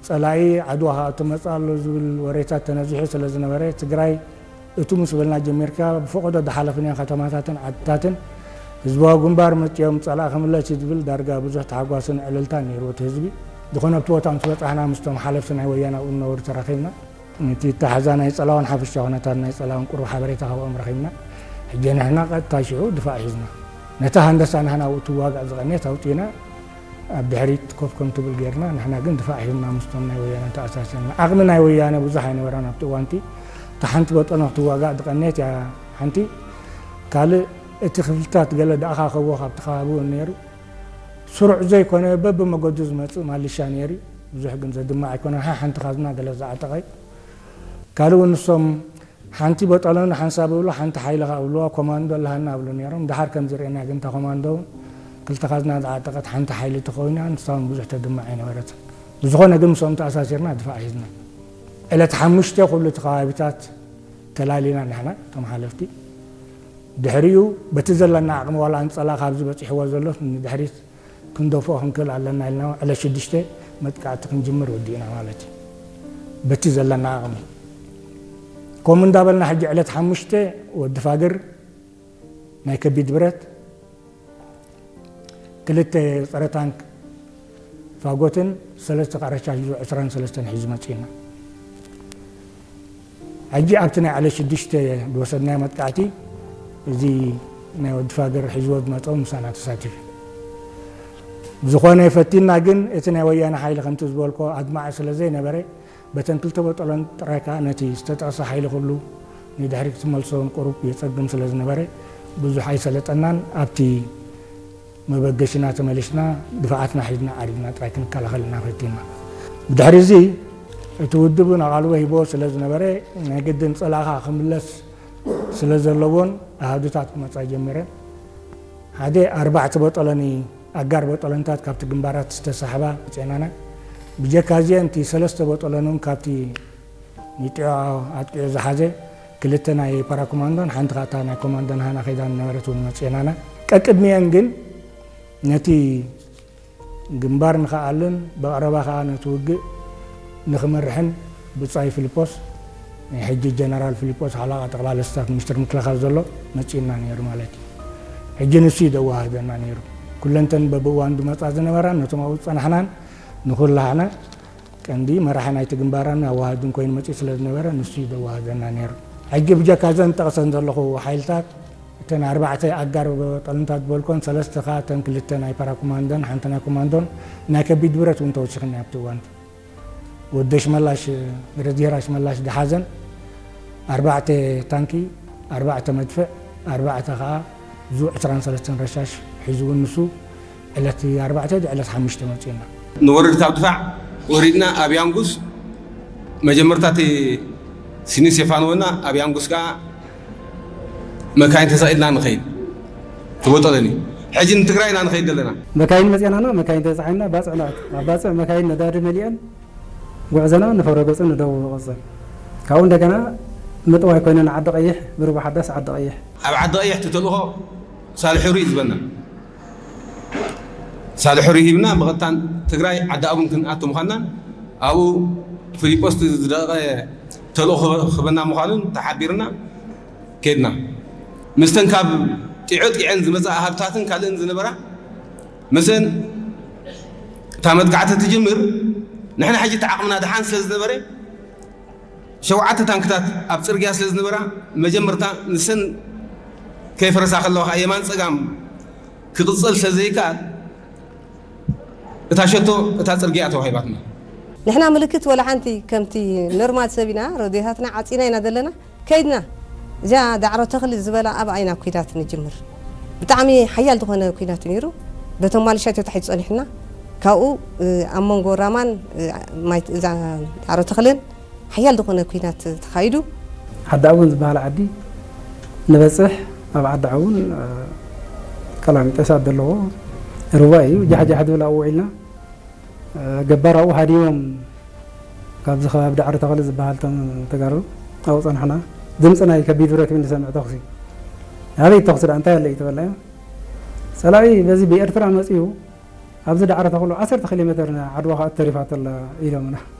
ጸላኢ ዓድዋ ክኣቱ መጽእ ኣሎ ዝብል ወሬታት ተነዚሑ ስለ ዝነበረ፣ ትግራይ እቱ ምስ በልና ጀሚርካ ብፈቐዶ ዝሓለፍናዮ ከተማታትን ዓድታትን ህዝባዊ ግንባር መጺኦም ጸላኢ ክምለስ እዩ ዝብል ዳርጋ ብዙሕ ተሓጓስን ዕልልታን ነይሩ እቲ ህዝቢ። ዝኾነ ኣብቲ ቦታ ምስ በጻሕና ምስቶም ሓለፍቲ ናይ ወያነ ኣብኡ ዝነበሩ ተራኺብና። እቲ ኣተሓሕዛ ናይ ጸላውን ሓፈሻዊ ኩነታት ናይ ጸላውን ቁሩብ ሓበሬታ ካብኦም ረኺብና። ሕጂ ንሕና ቀጥታ ሽዑ ድፋዕ ሒዝና። ነታ ሃንደሳ ንሕና ኣብኡ ትዋጋእ ዝቐነየት ኣውጺእና ኣብ ድሕሪት ኮፍ ከም ትብል ጌርና፣ ንሕና ግን ድፋዕ ሒዝና ምስቶም ናይ ወያነ ተኣሳሲርና። ዓቕሚ ናይ ወያነ ብዙሕ ኣይነበረን ኣብቲ እዋንቲ። እታ ሓንቲ በጠኖ ክትዋጋእ ዝቐነየት እያ ሓንቲ። ካልእ እቲ ክፍልታት ገለ ዝኣኻኸቦ ካብቲ ከባቢ እውን ነይሩ። ስሩዕ ዘይኮነ በብመገዱ ዝመጽእ ማሊሻ ነይሩ። ብዙሕ ግን ዘድምዕ ኣይኮነን። ሓ-፣ ሓንቲ ካዝና ገለ ዝዓጠቐ እዩ። ካልእ እውን ንሶም ሓንቲ በጠሎን ሓንሳብ እብሉ፣ ሓንቲ ሓይሊ ኸኣ እብልዋ፣ ኮማንዶ ኣለሃና እብሉ ነይሮም። ደሓር ከም ዝርእየና ግን እታ ኮማንዶ እውን ክልተ ካዝና ዝዓጠቐት ሓንቲ ሓይሊ ተኾይና፣ ንሳ እውን ብዙሕ ተድምዕ ኣይነበረትን። ብዝኾነ ግን ምስኦም ተኣሳሲርና ድፋዕ ሒዝና። ዕለት ሓሙሽተ ኩሉ እቲ ከባቢታት ተላሊና ንሕና፣ እቶም ሓለፍቲ። ድሕሪኡ በቲ ዘለና ዓቕሚ ዋላ ኣንጸላ ካብዚ በጺሕዎ ዘሎ ንድሕሪት ክንደፍኦ ክንክእል ኣለና ኢልና ዕለት ሽዱሽተ መጥቃዕቲ ክንጅምር ወዲእና ማለት እዩ። በቲ ዘለና ዓቕሚ። ከምኡ እንዳበልና ሕጂ ዕለት ሓሙሽተ ወዲ ፋግር ናይ ከቢድ ብረት፣ ክልተ ጸረ ታንክ ፋጎትን ሰለስተ ካራቻሽ ዙ ዕስራን ሰለስተን ሒዙ መጺእና። ሕጂ ኣብቲ ናይ ዕለት ሽዱሽተ ዝወሰድናዮ መጥቃዕቲ፣ እዚ ናይ ወዲ ፋገር ሒዝዎ ዝመጾም ምሳና ተሳቲፉ። ብዝኾነ ፈቲና ግን፣ እቲ ናይ ወያነ ሓይሊ ከምቲ ዝበልኮ ኣድማዒ ስለ ዘይነበረ፣ በተን ክልተ በጠሎን ጥራይ ከኣ ነቲ ዝተጠቕሰ ሓይሊ ኩሉ ንድሕሪት ክትመልሶን ቁሩብ የጸግም ስለ ዝነበረ፣ ብዙሕ ኣይሰለጠናን። ኣብቲ መበገሲና ተመሊስና፣ ድፋዓትና ሒዝና ዓሪድና ጥራይ ክንከላኸል ኢና ፈቲና። ብድሕሪ እዚ፣ እቲ ውድብ እውን ኣቓልቦ ሂብዎ ስለ ዝነበረ፣ ናይ ግድን ጸላእኻ ክምለስ ስለ ዘለዎን ኣሃዱታት ክመጻ ጀሚረን። ሓደ ኣርባዕተ በጠሎኒ፣ ኣጋር በጠሎንታት ካብቲ ግንባራት ዝተሳሕባ መጺኤናና። ብጀካ እዚአን፣ እቲ ሰለስተ በጠሎን እውን ካብቲ ንጢዖ ኣጥቂዑ ዝሓዘ፣ ክልተ ናይ ፓራኮማንዶን ሓንቲ ኻታ ናይ ኮማንዶን ሃና ኸይዳ ነበረት እውን መጺኤናና። ቀቅድሚአን ግን ነቲ ግንባር ንኸኣልን ብቐረባ ኸኣ ነቲ ውግእ ንኽመርሕን ብጻይ ፊልጶስ፣ ናይ ሕጂ ጀነራል ፊልጶስ ሓለቓ ጠቕላላ ስታፍ ሚኒስትር ምክልኻል ዘሎ መጺኡና ነይሩ ማለት እዩ። ሕጂ ንሱ እዩ ዘወሃህደና ነይሩ። ኩለንተን በብእዋን ዝመጻ ዝነበራን ነቶም ኣብኡ ዝጸናሕናን ንኹላህና ቀንዲ መራሒ ናይቲ ግንባራን ኣዋሃድን ኮይኑ መጺኡ ስለ ዝነበረ፣ ንሱ እዩ ዘዋህደና ነይሩ። ሕጂ ብጀካ እዘን ጠቕሰን ዘለኹ ሓይልታት፣ እተን ኣርባዕተ ኣጋር ጠለንታት ዝበልኮን፣ ሰለስተ ኸኣ እተን ክልተ ናይ ፓራኮማንዶን ሓንቲ ናይ ኮማንዶን ናይ ከቢድ ብረት እውን ተወሲኽና ኣብቲ እዋን። ወዲ ሽመላሽ፣ ብረዚሄር ኣሽመላሽ ዝሓዘን ኣርባዕተ ታንኪ፣ ኣርባዕተ መድፍዕ፣ ኣርባዕተ ኸኣ ዙ ዕስራን ሰለስተን ረሻሽ ሒዙ እውን ንሱ ዕለት ኣርባዕተ ድዩ ዕለት ሓሙሽተ መጺኡና። ንወርድ ካብ ድፋዕ ወሪድና ኣብ ያንጉስ መጀመርታ እቲ ሲኒ ስቴፋኖና ኣብ ያንጉስ ከኣ መካይን ተሰቒልና ንኸይድ ትበጠለኒ። ሕጂ ንትግራይ ኢና ንኸይድ ዘለና። መካይን መጺኣናና፣ መካይን ተጻዒንና ባጽዕ ንኣቱ። ኣብ ባጽዕ መካይን ነዳዲ መሊአን ጉዕዞና ንፈረገጹ ንደቡብ ንቕጽል። ካብኡ እንደገና ምጥዋይ ኮይነ ንዓዲ ቀይሕ፣ ብርቡ ሓዳስ ዓዲ ቀይሕ። ኣብ ዓዲ ቀይሕ እቲ ተልእኾ ሳልሕ ሕሩይ እዩ ዝበና። ሳልሕ ሕሩይ ሂብና ብቐጥታ ትግራይ ዓዲ ኣቡን ክንኣቱ ምዃንናን ኣብኡ ፊሊጶስ እቲ ዝደቐ ተልእኾ ክበና ምዃኑን ተሓቢርና ከድና። ምስተን ካብ ጢዖ ጢዐን ዝመጻ ሃብታትን ካልእን ዝነበራ፣ ምስን እታ መጥቃዕቲ ትጅምር፣ ንሕና ሕጂ እቲ ዓቕምና ደሓን ስለ ዝነበረ፣ ሸውዓተ ታንክታት ኣብ ጽርግያ ስለ ዝነበራ፣ መጀመርታ ንሰን ከይፈረሳ ከለዋ ከኣ የማን ጸጋም ክቕጸል ስለ ዘይከኣል፣ እታ ሸቶ እታ ጽርግያ ተዋሂባትና። ንሕና ምልክት ወላ ሓንቲ ከምቲ ኖርማል ሰብ ኢና፣ ረድዮታትና ዓጺና ኢና ዘለና። ከይድና፣ እዚኣ ዳዕሮ ተኽሊ ዝበላ ኣብኣ ኢና ኲናት ንጅምር። ብጣዕሚ ሓያል ዝኾነ ኲናት እዩ ነይሩ። በቶም ማሊሻት እዩ ታሒዙ ጸኒሑና። ካብኡ፣ እ፣ ኣብ መንጎ ራማን፣ እ፣ ማይ፣ እዛ ዳዕሮ ተኽልን ሓያል ዝኾነ ኲናት ተኻይዱ። ዓዲ ኣቡን ዝበሃል ዓዲ ንበጽሕ፣ ኣብ ዓዲ ኣቡን፣ እ፣ ቀላሚጦሳት ዘለዎ ሩባ እዩ። ጃሕጃሕ ዝብል ኣብኡ ውዒልና። ገባር ኣብኡ ሃዲሞም፣ ካብዚ ከባቢ ዳዕሮ ተኽሊ ዝበሃል እቶም ተጋሩ ኣብኡ ጸናሕና። ድምጺ ናይ ከቢድ ብረት እዩ ንሰምዕ፣ ተኹሲ። ኣበይ ተኹሲ ደኣ፣ እንታይ ኣሎ እዩ ተበልና። ጸላኢ በዚ ብኤርትራ መጺኡ፣ ኣብዚ ዳዕሮ ተኽሉ ዓሰርተ ኪሎ ሜተር ዓድዋ ከኣ ተሪፋቶ ኣላ ኢሎምና።